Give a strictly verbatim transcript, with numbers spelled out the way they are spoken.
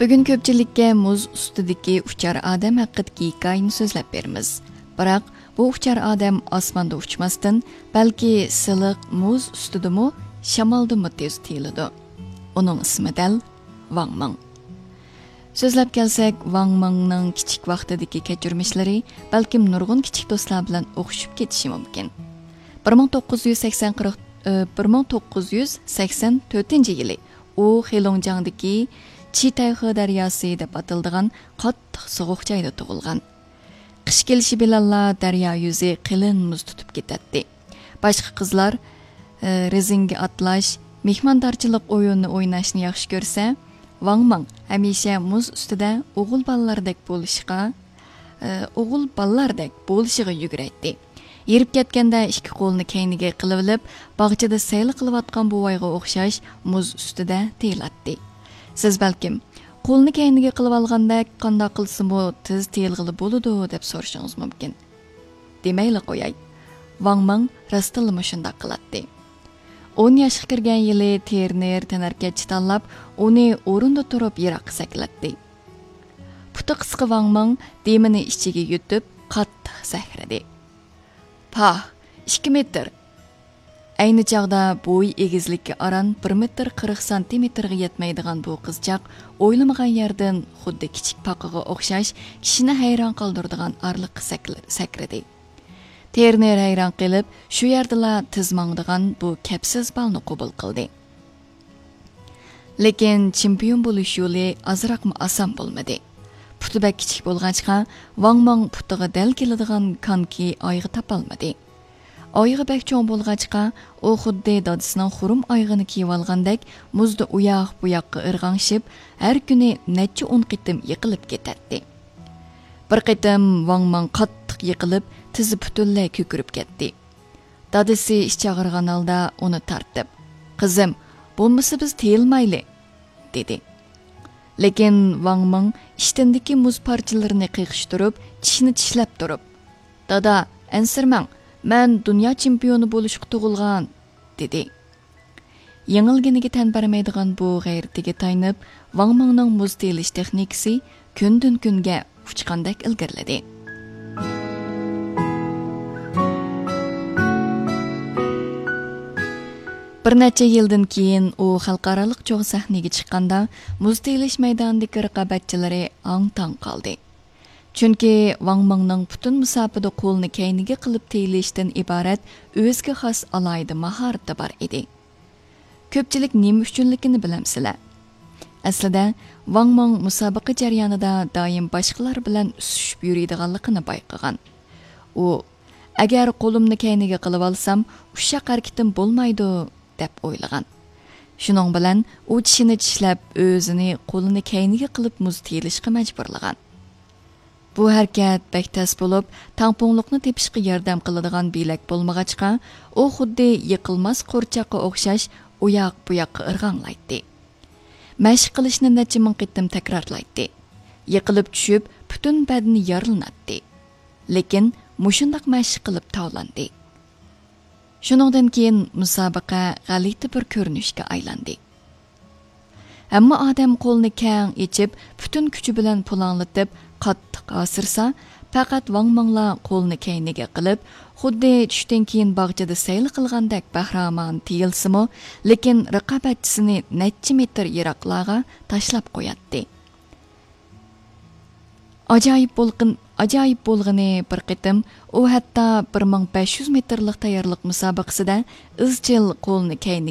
بۈگۈن كۆپچىلىككە مۇز ئۈستىدىكى ئۇچار ئادەم ھەققىدىكى ھېكايىنى سۆزلەپ بېرىمىز. بىراق، بۇ ئۇچار ئادەم ئاسماندا ئۇچماستىن، بەلكى سىلىق مۇز ئۈستىدىمۇ، شامالدىمۇ تېز تېيىلىدۇ. ئۇنىڭ ئىسمى دەل ۋاڭ مىڭ. سۆزلەپ كەلسەك، ۋاڭ مىڭنىڭ كىچىك ۋاقتىدىكى كەچۈرمىشلىرى بەلكىم نۇرغۇن كىچىك دوستلار بىلەن ئوخشىشىپ كېتىشى مۇمكىن. بىر مىڭ توققۇز يۈز سەكسەن قىرىق، ئى، بىر مىڭ توققۇز يۈز سەكسەن تۆتىنچى يىلى ئۇ خېلۇڭجياڭدىكى چىتەيخې دەرياسى دەپ ئاتىلىدىغان قاتتىق سوغۇق جايدا تۇغۇلغان. قىش كېلىشى بىلەنلا دەريا يۈزى قېلىن مۇز تۇتۇپ كېتەتتى. باشقا قىزلار، ئى، رېزىنكە ئاتلاش، مېھماندارچىلىق ئويۇنىنى ئويناشنى ياخشى كۆرسە، ۋاڭ مىڭ ھەمىشە مۇز ئۈستىدە ئوغۇل بالىلاردەك بولۇشقا، ئى، ئوغۇل بالىلاردەك بولۇشىغا يۈگۈرەيتتى. ھېرىپ كەتكەندە ئىككى قولىنى كەينىگە قىلىۋېلىپ، باغچىدا سەيلە قىلىۋاتقان بوۋايغا ئوخشاش مۇز ئۈستىدە تېيىلاتتى. سىز بەلكىم، قولىنى كەينىگە قىلىۋالغاندەك قانداق قىلسىمۇ تېز تېيىلغىلى بولىدۇ دەپ سورىشىڭىز مۇمكىن. دېمەيلا قوياي، ۋاڭ مىڭ راستتىنلا مۇشۇنداق قىلاتتى. ئون ياشقا كىرگەن يىلى تېرنېر تەنھەرىكەتچى تاللاپ، ئۇنى ئورنىدا تۇرۇپ يىراققا سەكرەتتى. پۇتى قىسقا ۋاڭ مىڭ دېمىنى ئىچىگە يۇتۇپ، قاتتىق سەكرىدى. پاھ، ئىككى مېتىر! ئەينى چاغدا بويى ئېگىزلىكى ئاران بىر مېتىر قىرىق سانتىمېتىرغا يەتمەيدىغان بۇ قىزچاق ئويلىمىغان يەردىن خۇددى كىچىك پاقىغا ئوخشاش كىشىنى ھەيران قالدۇرىدىغان ئارىلىققا سەكرە-، سەكرىدى. تېرنېر ھەيران قېلىپ، شۇ يەردىلا تىز ماڭىدىغان بۇ كەپسىز بالنى قوبۇل قىلدى. لېكىن چېمپىيون بولۇش يولى ئازراقمۇ ئاسان بولمىدى. پۇتى بەك كىچىك بولغاچقا، ۋاڭ مىڭ پۇتىغا دەل كېلىدىغان كانكى ئايىغى تاپالمىدى. ئايىغى بەك چوڭ بولغاچقا، ئۇ خۇددى دادىسىنىڭ خۇرۇم ئايىغىنى كىيىۋالغاندەك مۇزدا ئۇياق-بۇياققا ئىرغاڭشىپ، ھەر كۈنى نەچچە ئون قېتىم يىقىلىپ كېتەتتى. بىر قېتىم ۋاڭ مىڭ قاتتىق يىقىلىپ، تىزى پۈتۈنلەي كۆكىرىپ كەتتى. دادىسى ئىچى ئاغرىغان ھالدا ئۇنى تارتىپ، «قىزىم، بولمىسا بىز تىيىلمايلى» دېدى. لېكىن ۋاڭ مىڭ ئىشتىنىدىكى مۇز پارچىلىرىنى قېقىشتۇرۇپ، چىشىنى چىشلەپ تۇرۇپ، «دادا، ئەنسىرىمەڭ، مەن دۇنيا چېمپىيونى بولۇشقا تۇغۇلغان» دېدى. يېڭىلگىنىگە تەن بەرمەيدىغان بۇ غەيرىتىگە تايىنىپ، ۋاڭ مىڭنىڭ مۇز تېيىلىش تېخنىكىسى كۈندىن-كۈنگە ئۇچقاندەك ئىلگىرىلىدى. بىر نەچچە يىلدىن كېيىن ئۇ خەلقئارالىق چوڭ سەھنىگە چىققاندا، مۇز تېيىلىش مەيدانىدىكى رىقابەتچىلىرى ئاڭ-تاڭ قالدى. چۈنكى ۋاڭ مىڭنىڭ پۈتۈن مۇساپىدە قولىنى كەينىگە قىلىپ تېيىلىشتىن ئىبارەت ئۆزىگە خاس ئالاھىدە ماھارىتى بار ئىدى. كۆپچىلىك نېمە ئۈچۈنلۈكىنى بىلەمسىلەر؟ ئەسلىدە، ۋاڭ مىڭ مۇسابىقە جەريانىدا دائىم باشقىلار بىلەن ئۈسۈشۈپ يۈرىدىغانلىقىنى بايقىغان. ئۇ، «ئەگەر قولۇمنى كەينىگە قىلىۋالسام، ئۇششاق ھەرىكىتىم بولمايدۇ» دەپ ئويلىغان. شۇنىڭ بىلەن ئۇ چىشىنى چىشلەپ، ئۆزىنى قولىنى كەينىگە قىلىپ مۇز تېيىلىشقا مەجبۇرلىغان. بۇ ھەرىكەت بەك تەس بولۇپ، تەڭپۇڭلۇقنى تېپىشقا ياردەم قىلىدىغان بىلەك بولمىغاچقا، ئۇ خۇددى يىقىلماس قورچاققا ئوخشاش ئۇياق-بۇياققا ئىرغاڭلايتتى. مەشىق قىلىشنى نەچچە مىڭ قېتىم تەكرارلايتتى. يىقىلىپ چۈشۈپ، پۈتۈن بەدىنى يارىلىناتتى. لېكىن مۇشۇنداق مەشىق قىلىپ تاۋلاندى. شۇنىڭدىن كېيىن مۇسابىقە غەلىتە بىر كۆرۈنۈشكە ئايلاندى. ھەممە ئادەم قولىنى كەڭ ئېچىپ، پۈتۈن كۈچى بىلەن پۇلاڭلىتىپ، قاتتىق ھاسىرىسا، پەقەت ۋاڭ مىڭلا قولىنى كەينىگە قىلىپ، خۇددى چۈشتىن كېيىن باغچىدا سەيلە قىلغاندەك بەھرىمان تېيىلسىمۇ، لېكىن رىقابەتچىسىنى نەچچە مېتىر يىراقلارغا تاشلاپ قوياتتى. ئاجايىپ بولغىن-، ئاجايىپ بولغىنى، بىر قېتىم ئۇ ھەتتا بىر مىڭ بەش يۈز مېتىرلىق تەييارلىق مۇسابىقىسىدە ئىزچىل قولىنى كەينىگە